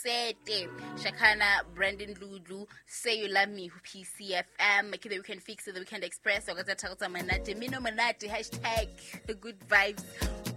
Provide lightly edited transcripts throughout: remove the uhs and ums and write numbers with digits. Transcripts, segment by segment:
Sete Shakana Brandon Dludlu, Say You Love Me ho PCFM. Ke The Weekend Fix, The Weekend Express. O ka tsa tharo tsa monate, mino monate, hashtag good vibes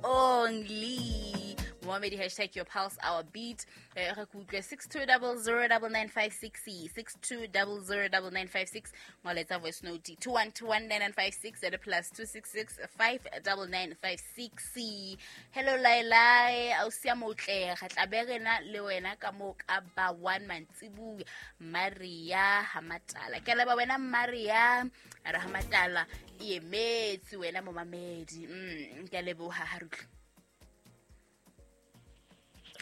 only. Momamedi, hashtag your pulse, our beat. Re ke utlwe 62009956, 62009956. Ngoletsa voice note 21219956 at +266 59956. Hello Lailai, ausi a motle, re tla be re na le wena ka moo ka ba 1 mantsibuya. Maria Hamatala, ke leba wena Maria, a re Hamatala e emetse wena momamedi. Ke a leboha. Ha re utlwe,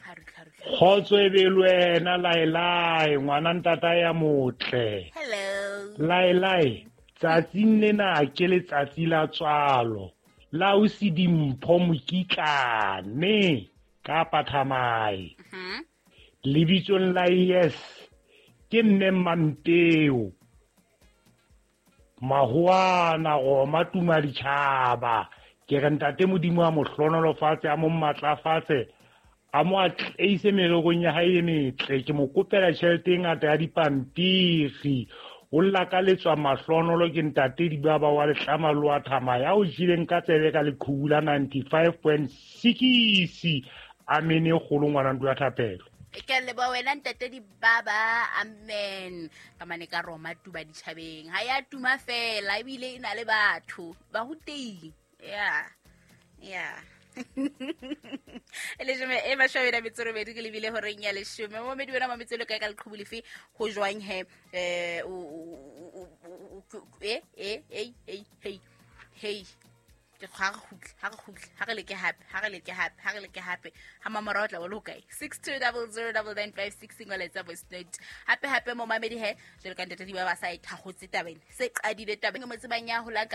ha re utlwe, ha re utlwe. Kgotso e be le wena Laelae, ngwana ntata ya motle. Hello. Laelae, tsatsing lena ke letsatsi la tswalo la o se dimpho mokitlane kapa thamae. Lebitsong la yes ke mme Mampeo Mahoana Roma tuma ditjhaba, ke re ntate Modimo a mo hlonolofatse, a mo matlafatse, a mo atleise mererong ya hae e metle. Ke mo kopela tjhelete e ngata ya dipampiri. O lakaletswa mahlonolo ke ntate Dibaba wa Letlama le wa Thama ya o jeleng ka tsebe ka leqhubu la 95.6. Amene e kgolo, ngwana ntlo ya thapelo. Ke a leboha wena ntate Dibaba, amen. Ka mane ka Roma tuba ditjhabeng, ha ya tuma fela ebile e na le batho ba rutehile. Ya e leshome e mashome a metso robedi ke lebile horeng ya leshome. Momedi wena mametse le kae ka leqhubu lefe ho jwang he? E e e e hey hey, ke ha re kgutle, ha re kgutle, ha re leke hape, ha re leke hape, ha re leke hape. Ha mamorao tla bo le hokae? 62009956, ngoletsa voice note hape hape momamedi. He jwalo ka ntate di ba sa e thakgotse tabeng se qadile tabeng mo tsebang ya hola.